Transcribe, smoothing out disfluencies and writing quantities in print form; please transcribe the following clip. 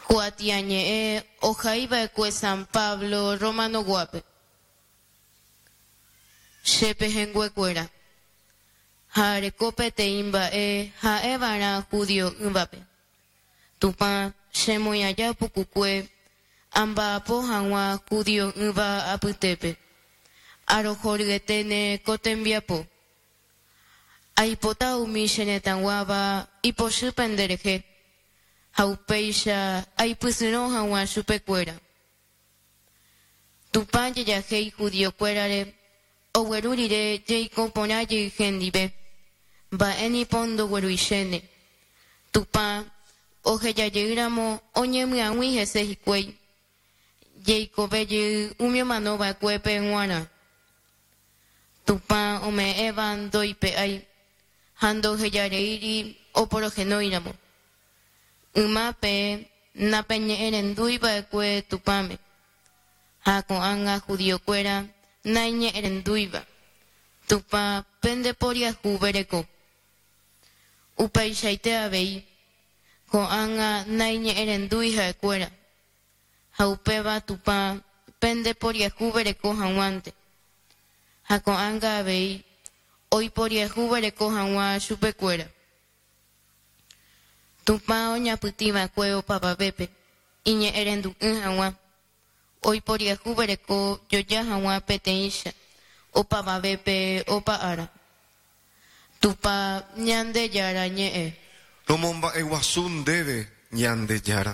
Kuatiañe'ẽ ohaiva'ekue San Pablo Romano-guápe. Che pehẽnguekuéra, ha areko peteĩ mba'e ha'eva'erã judio'ỹvape. Tupã chemoĩ aja pukukue amba'apo hag̃ua judio'ỹva apytépe, arohoryeténe ko tembiapo. Aipota umi che retãguáva ipochy penderehe, ha upéicha aipysyrõ hag̃ua chupekuéra. Tupã jejahéi judiokuérare ogueru rire jeiko porã jey hendive, mba'e nipo ndogueruichéne. Tupã ohejajeýramo oñemyag̃ui hese hikuái, jeikove jey umi omanova'ekuépe g̃uarã. Tupã ome'ẽva ndoipe'ái ha ndohejareíri oporohenóiramo. Yma peẽ napeñe'ẽrendúi va'ekue Tupãme, ha ko'ág̃a judiokuéra naiñe'ẽrendúiva, Tupã pendeporiahuvereko. Upeichaite avei, ko'ág̃a naiñe'ẽrendúi ha'ekuéra, ha upéva Tupã pendeporiahuvereko hag̃uánte, ha ko'ág̃a avei oiporiahuvereko hag̃ua chupekuéra. Tupã oñapytĩva'ekue opavavépe iñe'ẽrendu'ỹ hag̃ua, oiporiahuvereko joja hag̃ua peteĩcha opavavépe opa ára. Tupã Ñandejára ñe'ẽ. Romomba'eguasu ndéve, Ñandejára.